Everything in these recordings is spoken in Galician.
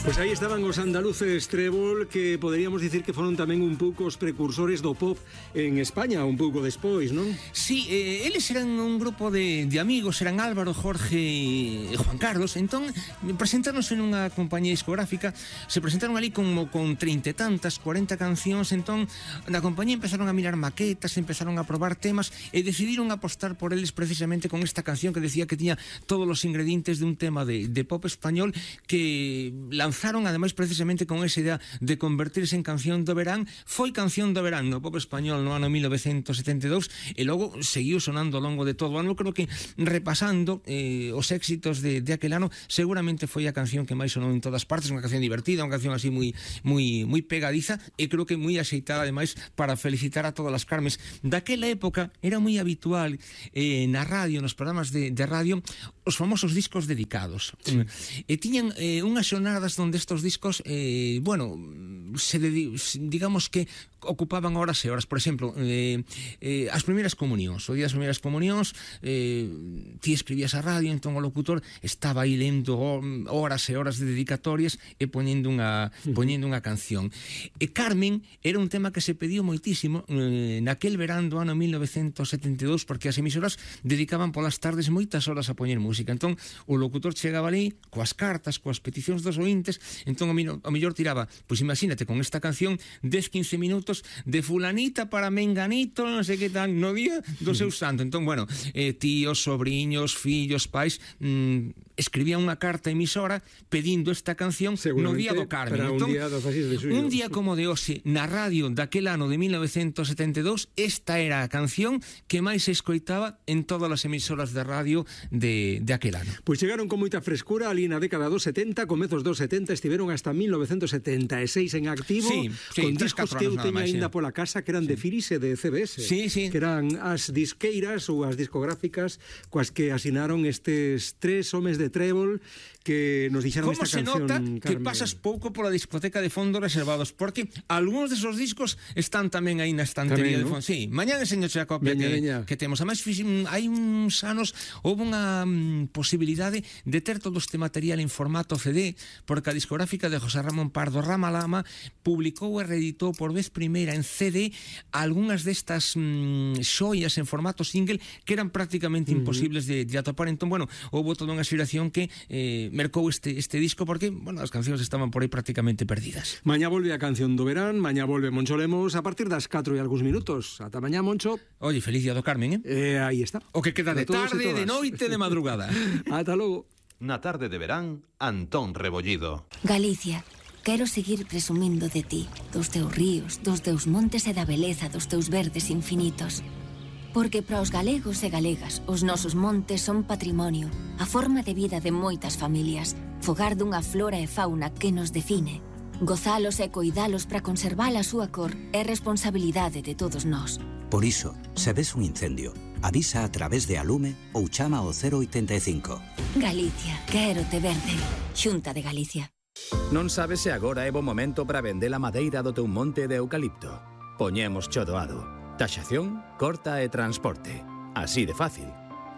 Pois aí estaban os andaluces Trébol, que poderíamos dicir que foron tamén un pouco os precursores do pop en España, un pouco despois, non? Sí, eles eran un grupo de amigos, eran Álvaro, Jorge e Juan Carlos. Entón, presentáronse nunha compañía discográfica, se presentaron ali como con 30 e tantas, 40 cancións. Entón, na compañía empezaron a mirar maquetas, empezaron a probar temas e decidiron apostar por eles precisamente con esta canción que decía que tiña todos os ingredientes de un tema de pop español, que lanzaron ademais precisamente con esa idea de convertirse en canción do verán. Foi canción do verán no pop español no ano 1972 e logo seguiu sonando ao longo de todo o ano. Creo que repasando os éxitos de aquel ano, seguramente foi a canción que máis sonou en todas partes, unha canción divertida, unha canción así moi pegadiza, e creo que moi axeitada ademais para felicitar a todas as Carmes. Daquela época era moi habitual na radio, nos programas de radio, os famosos discos dedicados. Sí. E tiñan unhas xornadas onde estos discos, digamos que ocupaban horas e horas. Por exemplo, as primeiras comunións, o día das primeiras comunións, ti escribías a radio, entón o locutor estaba aí lendo horas e horas de dedicatorias e poñendo unha canción. E Carmen era un tema que se pediu moitísimo naquel verán do ano 1972, porque as emisoras dedicaban polas tardes moitas horas a poñer música. Entón o locutor chegaba ali coas cartas, coas peticións dos ointes. Entón o mellor tiraba, pois imagínate, con esta canción 10-15 minutos de fulanita para menganito, non sei que tal, no día do seu santo. Entón, tíos, sobriños, fillos, pais, escribían unha carta emisora pedindo esta canción no día do Carmen. Entón, un día como de hoxe, na radio daquel ano de 1972, esta era a canción que máis se escoitaba en todas as emisoras de radio de aquel ano. Pois chegaron con moita frescura ali na década dos 70, comezos dos 70, estiveron hasta 1976 en activo, con discos que eu teño aínda pola casa, que eran de Firis e de CBS, que eran as disqueiras ou as discográficas coas que asinaron estes tres homes de Trébol que nos dixeron esta canción. Como se nota, Carmen, que pasas pouco pola discoteca de fondos reservados, porque algúns desos discos están tamén aí na estantería de fondos. Sí, mañá enseñoche a copia que temos. Además, hai uns anos houve unha posibilidade de ter todo este material en formato CD, porque a discográfica de José Ramón Pardo Ramalama publicou e reeditou por vez primeira en CD algunhas destas xoias en formato single que eran prácticamente imposibles de atopar. Entón, houve toda unha xeración que mercou este disco, porque, as cancións estaban por aí prácticamente perdidas. Mañá volve a canción do verán, mañá volve Moncho Lemos a partir das 4 e algúns minutos. Ata mañá, Moncho. Oye, feliz día do Carmen, aí está. O que queda de tarde, de noite, de madrugada. Ata logo. Na tarde de verán, Antón Rebollido. Galicia, quero seguir presumindo de ti, dos teus ríos, dos teus montes e da beleza dos teus verdes infinitos. Porque para os galegos e galegas, os nosos montes son patrimonio, a forma de vida de moitas familias, fogar dunha flora e fauna que nos define. Gozalos e coidalos para conservar a súa cor é responsabilidade de todos nós. Por iso, se ves un incendio, avisa a través de Alume ou chama ao 085. Galicia, quérote verde. Xunta de Galicia. Non sabes se agora é bo momento para vender a madeira do teu monte de eucalipto? Poñemos cho doado. Taxación, corta e transporte. Así de fácil.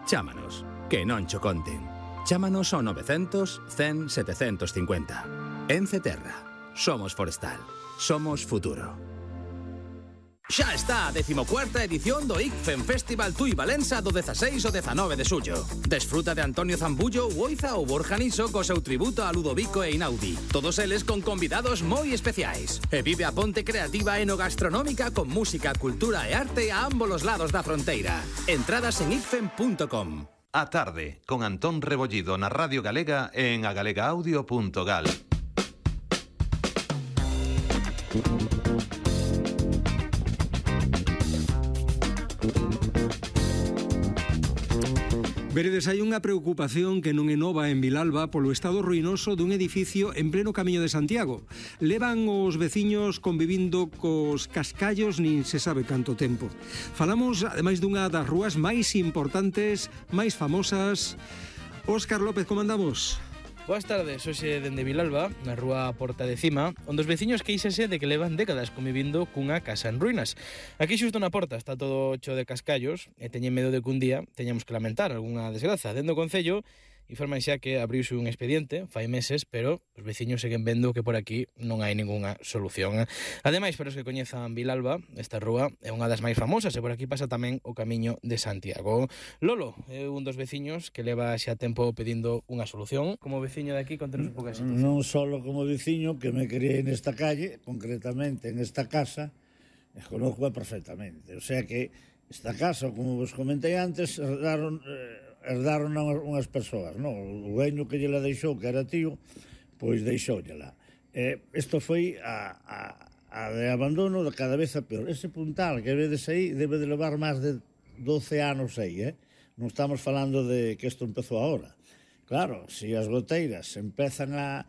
Chámanos, que non cho conten. Chámanos ao 900 100 750. Ence Terra. Somos forestal. Somos futuro. Xa está a 14ª edición do ICFEM Festival Tui Valença do 16 ao 19 de xullo. Desfruta de Antonio Zambullo, Oiza ou Borja Niso co seu tributo a Ludovico e Inaudi. Todos eles con convidados moi especiais. E vive a ponte creativa enogastronómica con música, cultura e arte a ambos os lados da fronteira. Entradas en icfem.com. A tarde, con Antón Rebollido na Radio Galega e en agalegaaudio.gal. Veredes, hai unha preocupación que non é nova en Vilalba polo estado ruinoso dun edificio en pleno Camiño de Santiago. Levan os veciños convivindo cos cascallos nin se sabe canto tempo. Falamos, ademais, dunha das rúas máis importantes, máis famosas. Óscar López, como andamos? Boas tardes, hoxe dende Vilalba, na rúa Porta de Cima, onde os veciños queixanse de que levan décadas convivindo cunha casa en ruínas. Aquí xusto na porta está todo cho de cascallos e teñen medo de que un día teñamos que lamentar algunha desgraza. Dende o Concello informan xa que abriuse un expediente fai meses, pero os veciños seguen vendo que por aquí non hai ningunha solución. Ademais, para os que coñezan Vilalba, esta rúa é unha das máis famosas e por aquí pasa tamén o Camiño de Santiago. Lolo é un dos veciños que leva xa tempo pedindo unha solución. Como veciño de aquí, contanos un pouco a situación. Non solo como veciño, que me criei nesta calle, concretamente en esta casa, conozco perfectamente. O sea que esta casa, como vos comentei antes, herdaron unhas persoas, non? O dueño que lle la deixou, que era tío, pois deixoulla. Isto foi a de abandono de cada vez a peor. Ese puntal que vedes aí debe de levar máis de 12 anos aí, non estamos falando de que isto empezou agora. Claro, se as goteiras empezan a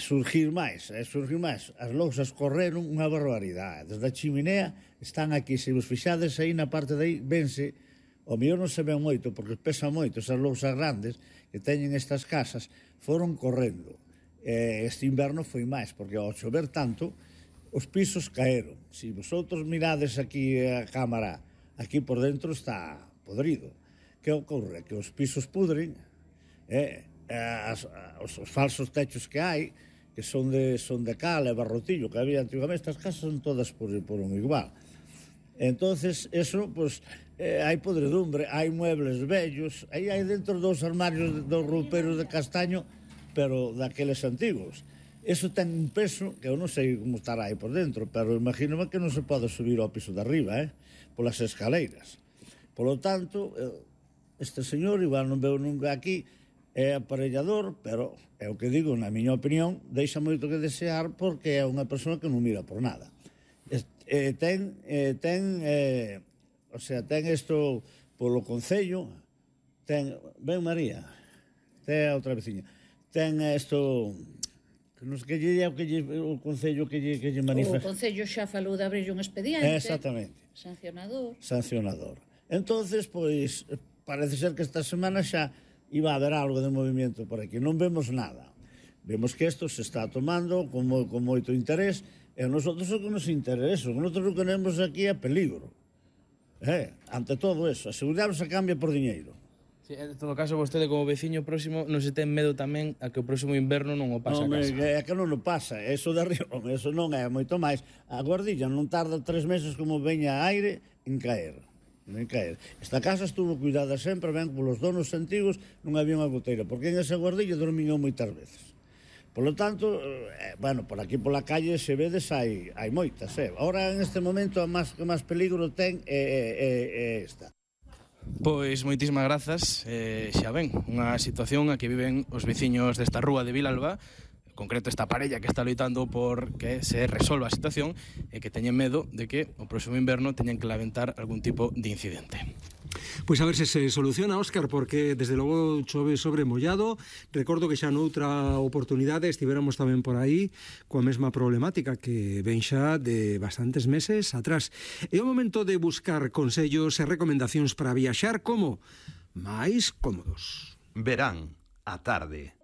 surgir máis, as lousas correron unha barbaridade. Desde a chiminea están aquí, se vos fixades aí na parte de aí, vense, o mellor non se ven moito, porque pesa moito, esas lousas grandes que teñen estas casas, foron correndo. Este inverno foi máis, porque ao chover tanto, os pisos caeron. Se vosotros mirades aquí a cámara, aquí por dentro está podrido. Que ocorre? Que os pisos pudren, os falsos techos que hai, que son de cal e barrotillo que había antigamente, estas casas son todas por un igual. Entonces, eso, pues, hai podredumbre, hai muebles vellos, aí hai dentro dos armarios, dos rouperos de castaño, pero daqueles antigos. Eso ten un peso, que eu non sei como estará aí por dentro, pero imagínome que non se pode subir ao piso de arriba, polas escaleiras. Por lo tanto, este señor, igual non veo nunca aquí, é aparellador, pero é o que digo, na miña opinión, deixa moito que desear porque é unha persoa que non mira por nada. Ten isto polo Concello, ben María, ten a outra veciña, ten isto, non sei que lle o Concello que lle manifesta. O Concello xa falou de abrir un expediente. Exactamente. Sancionador. Entonces, pois, parece ser que esta semana xa iba a haber algo de movimento por aquí. Non vemos nada. Vemos que isto se está tomando con moito interés e a nosotros o que nos interesa. Nosotros o que queremos aquí é peligro. Ante todo eso, a seguridade se cambia por diñeiro. Sí, en todo caso, vostede como veciño próximo non se ten medo tamén a que o próximo inverno non o pase a casa. É que non o pasa, eso de arriba, eso non é moito máis. A guardilla non tarda 3 meses como veña aire en caer. Esta casa estuvo cuidada sempre, ben, polos donos antigos, non había unha goteira, porque en esa guardilla dormiñou moitas veces. Por lo tanto, bueno, por aquí pola calle se vedes hai moitas, Ahora, en este momento, a máis peligro ten é esta. Pois moitísimas grazas, xa ven, unha situación a que viven os veciños desta rúa de Vilalba, en concreto esta parella que está loitando por que se resolva a situación e que teñen medo de que o próximo inverno teñan que lamentar algún tipo de incidente. Pois a ver se soluciona, Óscar, porque desde logo chove sobre mollado. Recordo que xa noutra oportunidade estivéramos tamén por aí coa mesma problemática que ven xa de bastantes meses atrás. É o momento de buscar consellos e recomendacións para viaxar como máis cómodos. Verán, a tarde.